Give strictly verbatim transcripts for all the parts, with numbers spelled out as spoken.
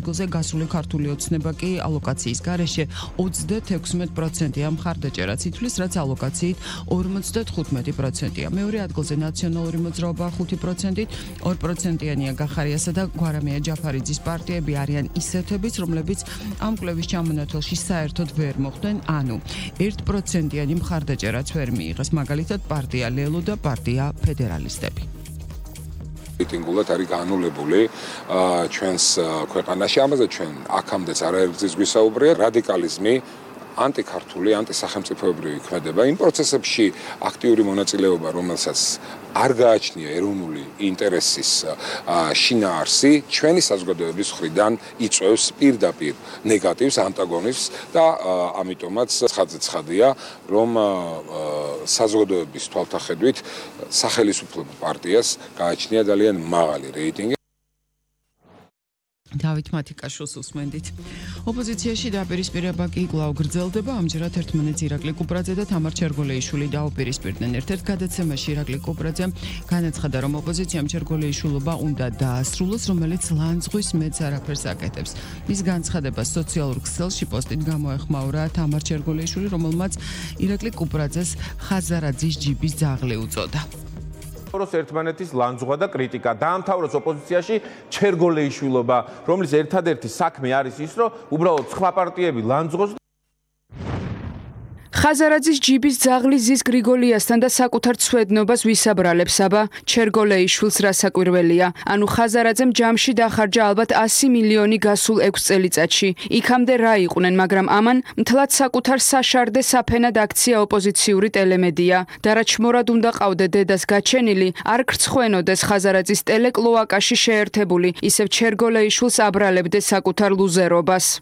ადგილზე გასული ქართული ოცნება კი ალოკაციის გარეშე ოცდათექვსმეტ პროცენტია მხარდაჭერაც ითვლის, რაც ალოკაციით ორმოცდათხუთმეტი პროცენტია. მეორე ადგილზე ნაციონალური მოძრაობა ხუთი პროცენტით, ორ პროცენტიანია გახარიასა და გვარამია ჯაფარიძის პარტიები არიან ისეთებიც, რომლებიც ამ კვლევის ჩამონათვალში საერთოდ ვერ მოხვდნენ, ანუ ერთ პროცენტიანი მხარდაჭერაც ვერ მიიღეს, მაგალითად პარტია ლელო და პარტია ფედერალისტები. მიტინგულად არის განულებული ჩვენს ქვეყანაში, ამაზე ჩვენ აქამდეც არაერთგზის გვისაუბრია, რადიკალიზმი ანტიქართული, ანტისახელმწიფოებრივი ქმედება. იმ პროცესებში აქტიური მონაწილეობა, რომელსაც არ გააჩნია ეროვნული ინტერესის შინაარსი, ჩვენი საზოგადოების მხრიდან იწვევს პირდაპირ ნეგატივს, ანტაგონიზმს და ამიტომაც ცხადზე ცხადია, რომ საზოგადოების თვალთახედვით სახელისუფლებო პარტიას გააჩნია ძალიან მაღალი რეიტინგი. დავით მათიკაშვილს უსმენდით. ოპოზიციაში დაპირისპირება კი კვლავ გრძელდება, ამჯერად ერთმანეთს ირაკლი კუპრაძე და თამარ ჩერგოლეიშვილი დაუპირისპირდნენ. ერთ-ერთ გადაცემაში ირაკლი კუპრაძემ განაცხადა, რომ ოპოზიციამ ჩერგოლეიშვილობა უნდა დაასრულოს, რომელიც ლანძღვის მეც არაფერს აკეთებს. მის განცხადებას სოციალურ ქსელში პოსტით გამოეხმაურა თამარ ჩერგოლეიშვილი, რომელმაც ირაკლი კუპრაძეს ხაზარაძის ჯიბის ძაღლი უწოდა. ერთმანეთის ლანძღვა და კრიტიკა დაამთავროს ოპოზიციაში ჩერგოლეიშვილობა, რომლის ერთადერთი საქმე არის ის, რომ უბრალოდ სხვა პარტიები ლანძღოს. ხაზარაძის ჯიბის ძაღლი ზის გრიგოლიასთან და საკუთარ ცვედნობას ვისაბრალებს, აბა ჩერგოლეიშვილს რა საკვირველია. ანუ ხაზარაძემ ჯამში დახარჯა ალბათ ასი მილიონი გასულ ექვს წელიწადში. იქამდე რა იყვნენ, მაგრამ ამან მთლად საკუთარ საშარდე საფენად აქცია ოპოზიციური ტელემედია. და რა ჩმორად უნდა ყავდე დედას გაჩენილი, არ გრცხვენოდეს ხაზარაძის ტელეკლოაკაში შეერთებული, ისევ ჩერგოლეიშვილს აბრალებდე საკუთარ ლუზერობას.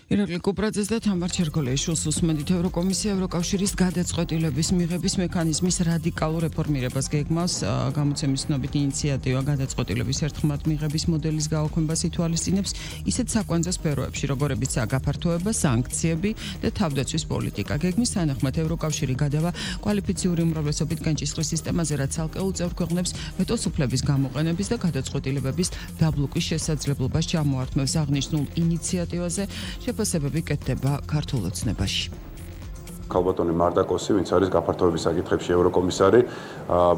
ირაკლი კუპრაძეს და თამარ ჩერგოლეიშვილს უსმენდით. ევროკომისია ევროკავშირის გადაწყვეტილების მიღების მექანიზმის რადიკალურ რეფორმირებას გეგმავს. გამოცემის ცნობით ინიციატივა გადაწყვეტილების ერთხმად მიღების მოდელის გაუქმებას ითვალისწინებს ისეთ საკვანძო სფეროებში, როგორებიცაა გაფართოება, სანქციები და თავდაცვის პოლიტიკა. გეგმის თანახმად ევროკავშირი გადავა კვალიფიციური უმრავლესობით განჭისყრის სისტემაზე, რაც ცალკეულ წევრ ქვეყნებს ვეტოს უფლების გამოყენების და გადაწყვეტილებების დაბლოკვის შესაძლებლობას ჩამოართმევს. აღნიშნულ ინიციატივაზე შეფასებები კეთდება ქართულ ოცნებაში. ქალბატონი მარტაკოსი, ვინც არის გაფართოების საკითხებში ევროკომისარი,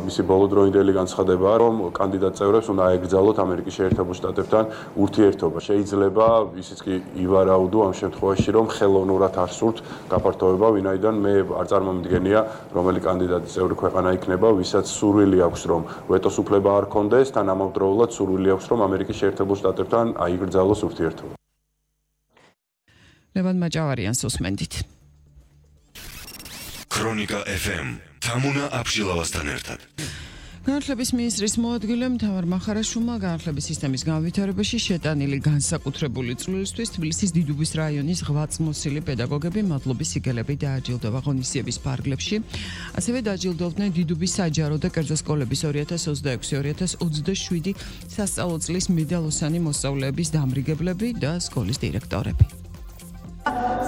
მისი ბოლოდროინდელი განცხადებაა, რომ კანდიდატ წევრებს უნდა აეგრძალოთ ამერიკის შეერთებულ შტატებთან ურთიერთობა. შეიძლება ისიც კი ივარაუდო ამ შემთხვევაში, რომ ხელოვნურად არ სურთ გაფართოება, ვინაიდან მე არ წარმომიდგენია, რომელი კანდიდატის წევრი ქვეყანა იქნება, ვისაც სურვილი აქვს, რომ ვეტოს უფლება არ ქონდეს, თან ამავდროულად სურვილი აქვს, რომ ამერიკის შეერთებულ შტატებთან აიგრძალოს ურთიერთობა. ლევან მაჭავარიანს უსმენდით. ქრონიკა ეფ ემ თამუნა აფშილავასთან ერთად. განათლების მინისტრის მოადგილემ თამარ მახარაშვილმა განათლების სისტემის განვითარებაში შეტანილი განსაკუთრებული წვლილისთვის თბილისის დიდუბის რაიონის ღვაწლმოსილი პედაგოგები მადლობის სიგელები დააჯილდოვა ღონისძიების ფარგლებში. ასევე დააჯილდოვდნენ დიდუბის საჯარო და კერძო სკოლების ორი ათას ოცდაექვსი ორი ათას ოცდაშვიდი სასწავლო წლის მედალოსანი მოსწავლეების დამრიგებლები და სკოლის დირექტორები.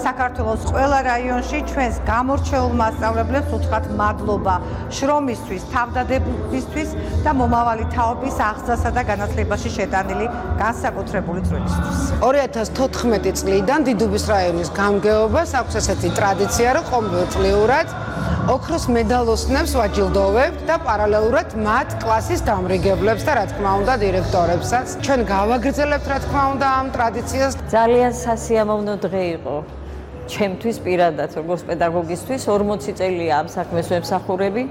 საქართველოს ყველა რაიონში ჩვენს გამორჩეულ მასწავლებლებს უთხრათ მადლობა შრომისთვის, თავდადებისთვის და მომავალი თაობის აღზრდასა და განათლებაში შეტანილი განსაკუთრებული წვლილისთვის. ორი ათას თოთხმეტი წლიდან დიდუბის რაიონის გამგეობას აქვს ესეთი ტრადიცია, რომ ყოველწლიურად ოქროს მედალოსნებს ვაჯილდოვებთ და პარალელურად მათ კლასის დამრიგებლებს და რა თქმა უნდა დირექტორებსაც. ჩვენ გავაგრძელებთ რა თქმა უნდა ამ ტრადიციას. ძალიან სასიამოვნო დღე იყო ჩემთვის პირადად, როგორც პედაგოგისთვის, ორმოცი წელია ამ საქმეს ვემსახურები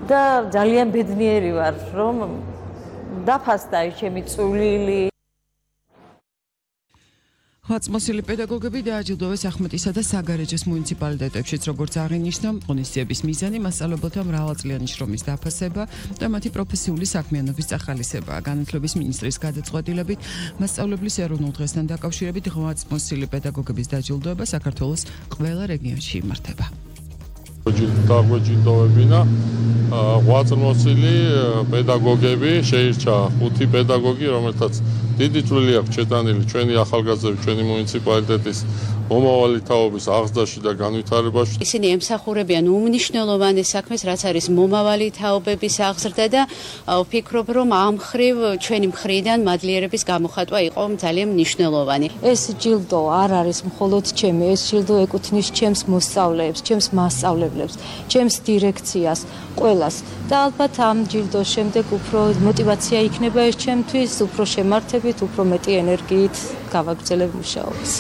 და ძალიან ბედნიერი ვარ, რომ დაფასდა ის ჩემი წვლილი. ღვაწლმოსილი პედაგოგები დააჯილდოვეს ახმეტისა და საგარეჯოს მუნიციპალიტეტებშიც, როგორც აღინიშნა, ღონისძიების მიზანი მასწავლებელთა მრავალწლიანი შრომის დაფასება და მათი პროფესიული საქმიანობის წახალისებაა. განათლების მინისტრის გადაწყვეტილებით მასწავლებლის ეროვნულ დღესთან დაკავშირებით ღვაწლმოსილი პედაგოგების დაჯილდოება საქართველოს ყველა რეგიონში იმართება. დაგვეჯილდოვებინა ღვაწლმოსილი პედაგოგები, შეირჩა ხუთი პედაგოგი, რომელთაც დიდი წვლილი აქვს შეტანილი ჩვენი ახალგაზრდების, ჩვენი მუნიციპალიტეტის მომავალი თაობის აღზრდაში და განვითარებაში. ისინი ემსახურებიან უმნიშვნელოვანეს საქმეს, რაც არის მომავალი თაობების აღზრდა და ვფიქრობ, რომ ამ მხრივ ჩვენი მხრიდან მადლიერების გამოხატვა იყო ძალიან მნიშვნელოვანი. ეს ჯილდო არ არის მხოლოდ ჩემი, ეს ჯილდო ეკუთვნის ჩემს მოსწავლეებს, ჩემს მასწავლებლებს, ჩემს დირექციას, ყველას. და ალბათ ამ ჯილდოს შემდეგ უფრო мотиваცია იქნება ეს ჩემთვის, უფრო შემართებით, უფრო მეტი ენერგიით გავაგრძელებ მუშაობას.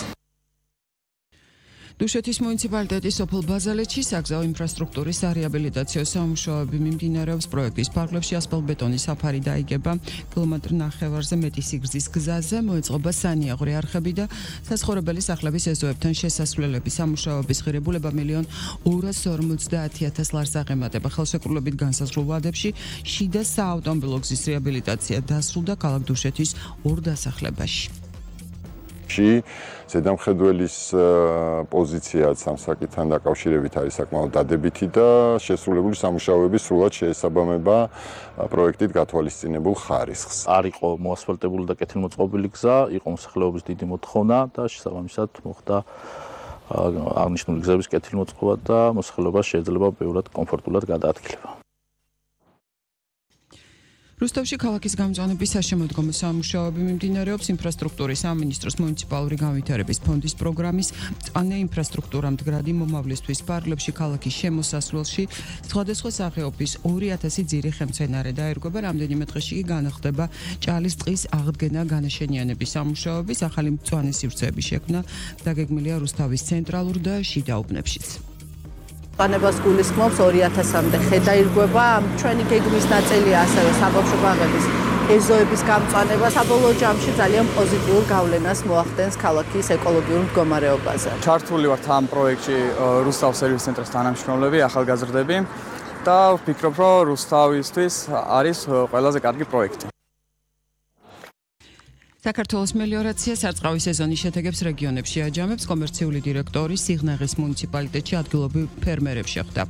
დუშეთის მუნიციპალიტეტის სოფელ ბაზალეთში საგზაო ინფრასტრუქტურის რეაბილიტაციო სამუშაოები მიმდინარეობს. პროექტის ფარგლებში ასფალტბეტონის საფარი დაიგება კილომეტრ ნახევარზე მეტი სიგრძის გზაზე, მოეწყობა სანიაღვრე არხები და საცხოვრებელი სახლების ეზოებთან შესასვლელების სამუშაოების ღირებულება მილიონ ორას ორმოცდაათი ათას ლარს აღემატება. ხელშეკრულებით განსაზღვრულ ვადებში შიდა საავტომობილო გზის რეაბილიტაცია დასრულდა ქალაქ დუშეთის ორ დასახლებაში. ზედამხედველის პოზიციაც ამ საკითხთან დაკავშირებით არის საკმაოდ დადებითი და შესრულებული სამუშაოები სრულად შეესაბამება პროექტით გათვალისწინებულ ხარისხს. არ იყო მოასფალტებული და კეთილმოწყობილი გზა, იყო მოსახლეობის დიდი მოთხოვნა და შესაბამისად მოხდა აღნიშნული გზების კეთილმოწყობა და მოსახლეობა შეიძლება ბევრად კომფორტულად გადაადგილება. რუსთავში ქალაქის გამწვანების საშემოდგომო სამუშაოები მიმდინარეობს. ინფრასტრუქტურის სამინისტროს მუნიციპალური განვითარების ფონდის პროგრამის მწვანე ინფრასტრუქტურა მდგრადი მომავლისთვის ფარგლებში ქალაქის შემოსასვლელში სხვადასხვა სახეობის ორი ათასი ძირი ხელმძღვანარე დაერგება. რამდენიმე დღეში კი განახდება ჭალის ტყის აღდგენა განაშენიანების სამუშაოების ახალი მწვანე სივრცეების შექმნა დაგეგმილია რუსთავის ცენტრალურ და შიდა უბნებშიც. ყანებას გულისხმობს ორი ათასამდე ხე დაირგვება. ჩვენი გეგმის ნაწილია ასევე საბავშვო ბაღების ეზოების გამწვანება. საბოლოო ჯამში ძალიან პოზიტიურ გავლენას მოახდენს ქალაქის ეკოლოგიურ მდგომარეობაზე. ჩართული ვართ ამ პროექტში რუსთავ სერვის ცენტრის თანამშრომლები, ახალგაზრდები და ვფიქრობ, რომ რუსთავისთვის არის ყველაზე კარგი პროექტი. საქართველოს მელიორაცია სარწყავი სეზონის შედეგებს რეგიონებში აჯამებს. კომერციული დირექტორი სიღნაღის მუნიციპალიტეტში ადგილობრივ ფერმერებს შეხვდა.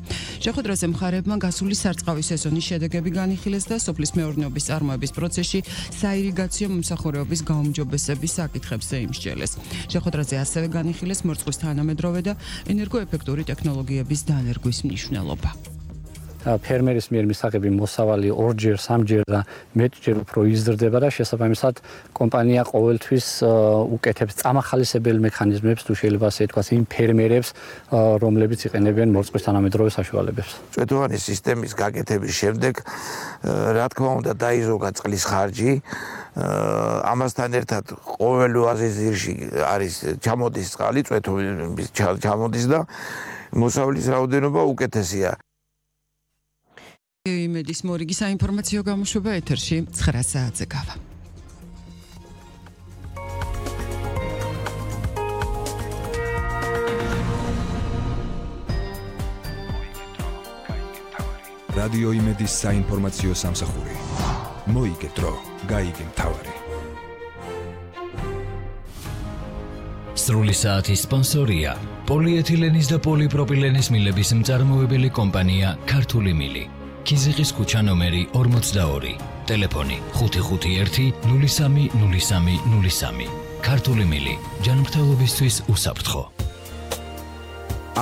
შეხვედრაზე მხარეებმა გასული სარწყავი სეზონის შედეგები განიხილეს და სოფლის მეურნეობის წარმოების პროცესში საირიგაციო მომსახურეობის გაუმჯობესების საკითხებზე იმსჯელეს. შეხვედრაზე ასევე განიხილეს მორწყვის თანამედროვე და ენერგოეფექტური ტექნოლოგიების დანერგვის მნიშვნელობა. ფერმერის მიერ მისაღები მოსავალი ორჯერ, სამჯერ და მეტჯერ უფრო იზრდება და შესაბამისად კომპანია ყოველთვის უკეთებს წამახალისებელ მექანიზმებს, თუ შეიძლება ასე ვთქვათ, იმ ფერმერებს, რომლებიც იყენებენ მორწყვის თანამედროვე საშუალებებს. წვეთოვანი სისტემის გაკეთების შემდეგ, რა თქმა უნდა, დაიზოგა წყლის ხარჯი. ამასთან ერთად ყოველ ოაზის ძირში არის ჩამოდის წყალი, წვეთოვის ჩამოდის და მოსავლის რაოდენობა უკეთესია. იმედის მორიგი საინფორმაციო გამოშვება ეთერში ცხრა საათზე გავა. რადიო იმედის საინფორმაციო სამსახური. მოიგეთრო, გაიგე მთავარი. სრული საათის სპონსორია პოლიეთილენის და პოლიპროპილენის მილების მწარმოებელი კომპანია ქართული მილი. ქიზიყის ქუჩა ნომერი ორმოცდაორი. ტელეფონი ხუთი ხუთი ერთი ნული სამი ნული სამი ნული სამი. ქართული მილი. ჯანმრთელობისთვის უსაფრთხო.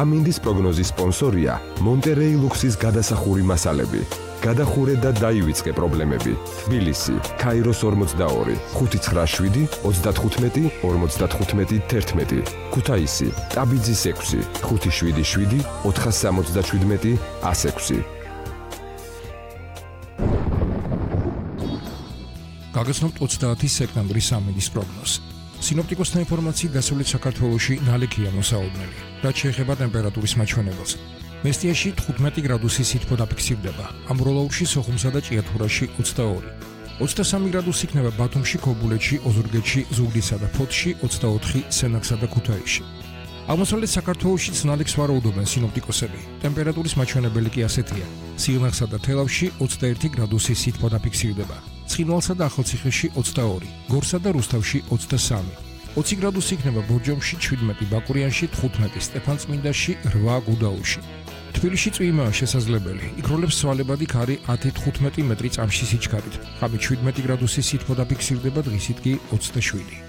ამინდის პროგნოზის სპონსორია მონტერეი ლუქსის გადასახური მასალები. გადახურე და დაივიწყე პრობლემები. თბილისი, ქაიროს ორმოცდაორი, ხუთი ცხრა შვიდი ოცდათხუთმეტი ორმოცდათხუთმეტი თერთმეტი. ქუთაისი, ტაბიძის ექვსი, ხუთი შვიდი შვიდი ოთხასამოცდაშვიდმეტი ასექვსი. გაგაცნობთ ოცდაათი სექტემბრის ამინდის პროგნოზს. სინოპტიკოსთა ინფორმაციით დასავლეთ საქართველოში ნალექია მოსაუბნელი, რაც შეეხება ტემპერატურის მაჩვენებელს. მესტიაში თხუთმეტი გრადუსი სითბო დაფიქსირდება, ამბროლაურში, სოხუმსა და ჭიათურაში ოცდაორი. ოცდასამი გრადუსი იქნება ბათუმში, ქობულეთში, ოზურგეთში, ზუგდიდსა და ფოთში, ოცდაოთხი სენაკსა და ქუთაისში. აღმოსავლეთ საქართველოშიც ნალექს ვარაუდობენ სინოპტიკოსები. ტემპერატურის მაჩვენებელი კი ასეთია: სიღნაღსა და თელავში ოცდაერთი გრადუსი სითბო დაფიქსირდება, ცხინვალსა და ახალციხეში ოცდაორი, გორსა და რუსთავში ოცდასამი. ოცი გრადუსი იქნება ბორჯომში, შვიდმეტი ბაკურიანში, თხუთმეტი სტეფანწმინდაში, რვა გუდაუთში. თბილისში წვიმაა შესაძლებელი. იქ როლებს სვალებადი ქარი ათი თხუთმეტი მეტრი წამში სიჩქარით. ღამით შვიდმეტი გრადუსის სითბო დაფიქსირდება, დღისით კი ოცდაშვიდი.